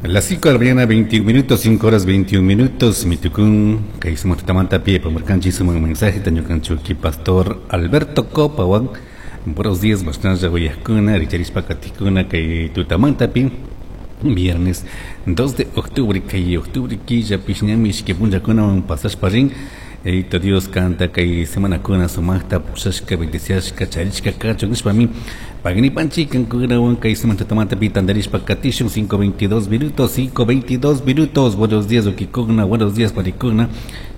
Las 5 de la mañana, 21 minutos, 5 horas 21 minutos. Mitucún, kay sumaq tutamanta pi apamurkanchik sumaq mensaje ñukanchik pastor Alberto Copawan. Buenos días, mashnalla uyajkuna, richarishpa katikuna kay tutamantapi. Viernes 2 de octubre, kay octubre killapish ñami ishki punllakunawan pasashpa rin. Yayito Dios kanta kay semanakuna sumaqta pushashka, bendiciashka, charishka kachun nishpami pagnipanchik kankunawan kay sumaq tutamantapi tantarishpa katishun 5:22 minutos, 5:22 minutos. Buenos días, ukikuna, buenos días, panikuna.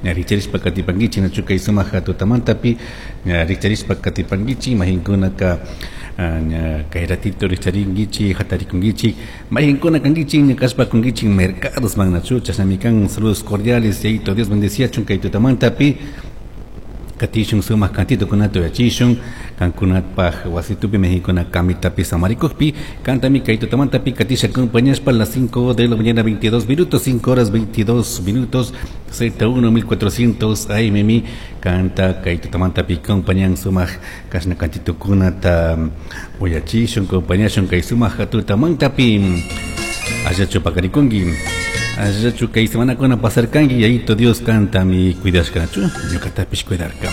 Ña richarishpa katipankichik nachu kay sumaq tutamantapi ña richarishpa katipankichik mahinkunaka ña kay ratito richarinkichik hatarikunkichik mahinkuna kankichik ña kashpa kunkichik mercados nachu chashnami kan. Saludos cordiales, Yayito Dios bendeciachun kay tutamantapi katishun sumaq cantitokunata uyachishun kankunapaj wasitupi mexicuna kamitapi samarikukpi kantami kay tutamantapi katisha acompañashpa a las 5 de la mañana 22 minutos, 5 horas 22 minutos, Z1 1400 AM kanta kay tutamantapi acompañan sumaq kashna cantitokunata uyachishun acompañashun kay sumaq tutamantapi. Allachu pakarikunki, allachu kay semanakuna pasarkanki? Yayito Dios kantami cuidashkanachu, ñuqatapish cuidarka.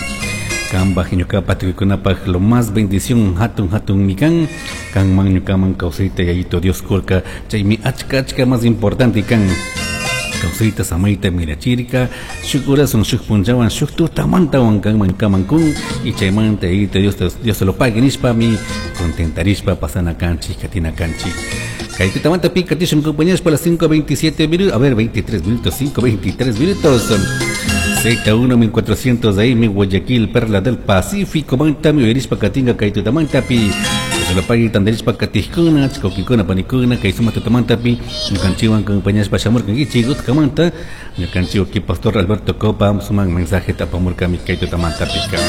Kambaj ñuqapa tukuykunapaj lo más bendición hatun hatunmi kan kanman ñukaman kawsayta Yayito Dios kurka, chaymi achka achka más importante kan. Kawsayta samayta mirachirka shuk horasun, shuk punllawan, shuk tutamantawan kanman ñukaman kun y chaymanta Yayito Dios, Dios se lo pague nishpami contentarishpa pasana kanchik, katina kanchik. Kay tutamanta pi katishun compañeros para las 5:27 minutos, a ver, 23 minutos, 5:23 minutos. Z1 1400 AM Guayaquil, Perla del Pacífico, mantami uyarishpa katinga kay tutamantapi. Se lo pague tandarishpa katijkuna, chikokikuna, panikuna, kay suma tutamantapi, ñukanchikwan acompañashpa shamurkankichik utkamanta, ñukanchik pastor Alberto Copa, suman mensaje tapamurkami kay tutamantapi.